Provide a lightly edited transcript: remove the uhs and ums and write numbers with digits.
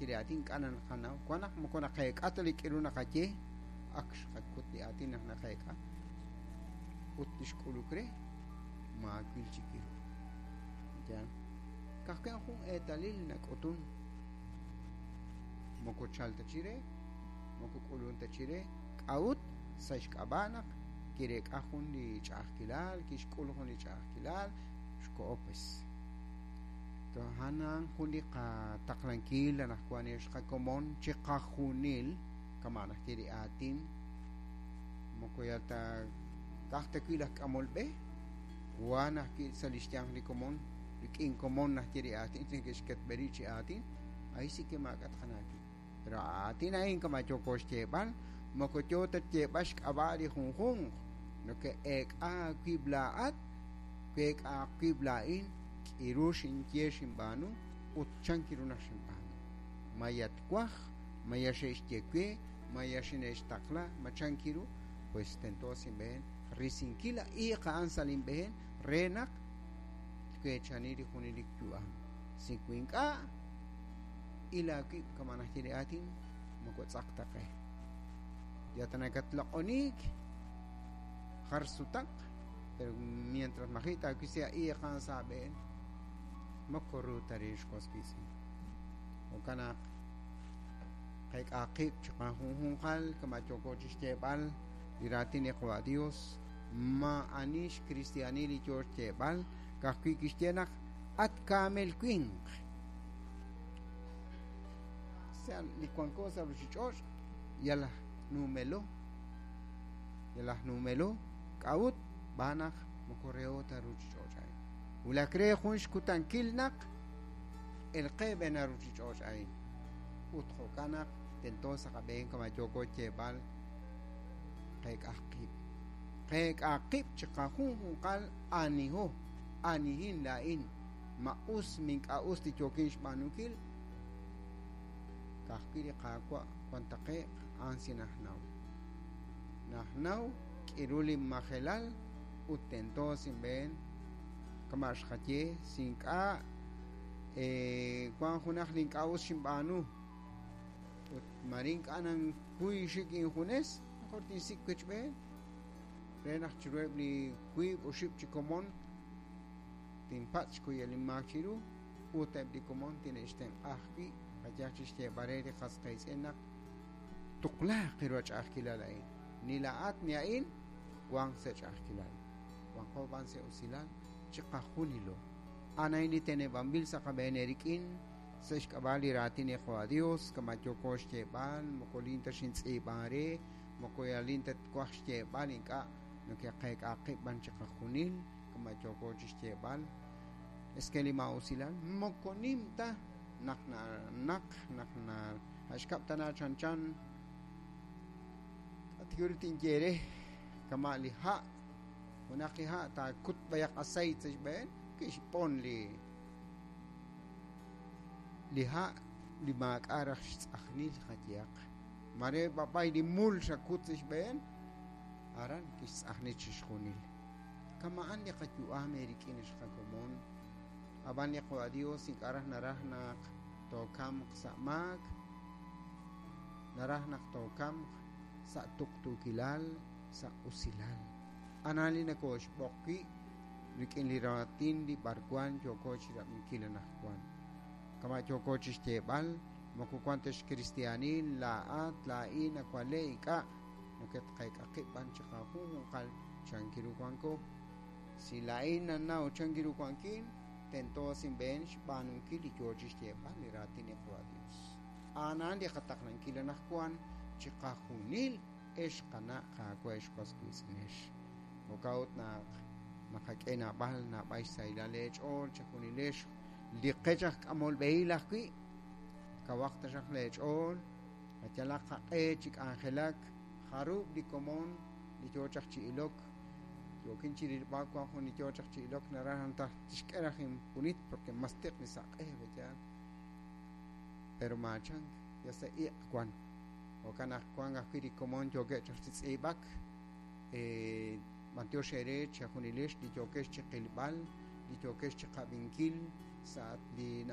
najye li aatin ink'a' naqanaw wan naq moko naqeek'a ta li k'iru naqaye ak xqakut li aatin naq naqeek'a ut li xk'uluk re maawil chik ru. Yaal. Ka'ajwi' jun eetalil nak'utun moko chal ta chire, moko k'ulun ta chire, k'a'ut sa' xk'ab'a' naq kireek'a jun li ch'a'ajkilal, kixk'ul jun li ch'a'ajkilal, xko'o pues. A'an jun li qataqlankil anaqwan ex qakomon chiqajunil kama' najye li aatin moko yal ta ka'aj ta wi' laj k'amol b'e wan ajwi' sa' li xyanq li komon rik'in komon najye li aatin neke'xketb'e rib' chi aatin ahí sí que maak'a' tqanaw wi'. Pero aatin a'in kama' yooko xyeeb'al moko yoo ta xyeeb'al xk'ab'a' li junjunq noke'eek'a aawib' laa'at week'a aawib' laa'in k'iru xinye xinb'aanu ut chan kiru naq xinb'aanu ma yatwaj ma ya xe'xye we ma ya xine'xtaqla ma chan kiru pues tento sa' inb'een risinkil a iiq a'an sa' linb'een re naq tweechani li junelik yu'am si wi ink'a' il aawib' kama' najye li aatin moko tz'aq ta qe ya ta nakatloq'oniik jar sutaq pero mientras maji' taawisi a iiq a'an sa' aab'een moko ru ta rix was wiitz'in jo'kan naq qeek'a qib' chiqajunjunqal kama' yooko chixyeeb'al li raatin li Qawa' Dios ma'ani xkristianil li yoo xyeeb'al ka'ajwi' kixye naq at kaamel winq sa' li wanko sa' ruchich'och' yal aj numelo yal aj numelo k'a'ut b'aan naq moko reho ta ruchich'och' a'in wulak re jun xkutankil naq elqe b'een a ruchich'och' a'in ut jo'kan naq tento sa' qab'een kama' yooko xyeeb'al qeek'aj qib' qeek'a qib' chiqajunjunqal aniho anihin laa'in ma us mink'a' us li yookin xb'aanunkil ka'ajwi' li Qaawa' wan taqe'q a'an si najnaw najnaw k'iru li majelal ut tento sa' inb'een kama' xqaye si ink'a' wan junaq li ink'a' us xinb'aanu ut mare ink'a' nankuy xik injunes mejor tinsik' wechb'een re naq chiruheb' li wiib' oxib' chi komon tinpatz' xkuyal inmaak chiru ut eb' li komon tine'xtenq'a ajwi' qayaj chixyeeb'al re li qas qiitz'in naq tuqlaaq ru a ch'a'ajkilal a'in ni laa'at ni a'in wanq sa' ch'a'ajkilal wanqo b'an sa' usilal chiqajunilo a'an a'in li teneb'anb'il sa' qab'een eerik'in sa' xk'ab'a' li raatin li Qawa' Dios kama' yooko xyeeb'al moko lin ta xintz'iib'an re moko yalin ta twaj xyeeb'al ink'a' nokeqeek'a qib' b'an chiqajunil kama' yooko chixyeeb'al es que li ma'usilal moko nim ta naq naq naq na xkab' tana chanchan k'atiru tinye re kama' li ha' junaq li ha' taakut b'ayaq aceite sa' xb'een kixb'on li ha' li maak'a' raj xtz'ajnil qayehaq mare b'ab'ay li mul xakut sa' xb'een aran kixtz'ajni chixjunil kama'an li qayu'am eerik'in ex qakomon ab'an li Qawa' Dios ink'a' raj naraj naq tookamq sa' maak naraj naq tookamq sa' tuqtuukilal sa' usilal anan li nakooxb'oq wi' rik'in li raatin li b'arwan yooko chirab'inkil anaqwan kama' yooko chixyeeb'al moko wan ta xkristianil laa'at laa'in awale' ink'a' noketqeek'a qib' b'an chiqajunjunqal chankiru wanko si laa'in nannaw chankiru wankin tento sa' inb'een xb'aanunkil li yoo chixyeeb'al li raatin li Qawa' Dios a'anan li qataqlankil anaqwan chiqajunil ex qana' qaawa' ex was wiitz'inex jo'kan ut naq naqak'e naab'al naab'al xsahilal eech'ool chejunilex li qech aj k'amol b'ehil ajwi' kawaq taxaq leech'ool qayalaq qaq'e chi k'anjelak jarub' li komon li yoo chaq chi ilok yookin chi rilb'al wan jun li yoo chaq chi ilok naraj naq tixk'e raj inpunit porque mas tiq li saq'e yaal pero maachank ya sa' iq' wan jo'kan naq wan ajwi' li komon yookeb' chaq chi tz'iib'ak b'antiox eere chejunilex li yookex chi qilb'al li yookex chi qab'inkil sa' li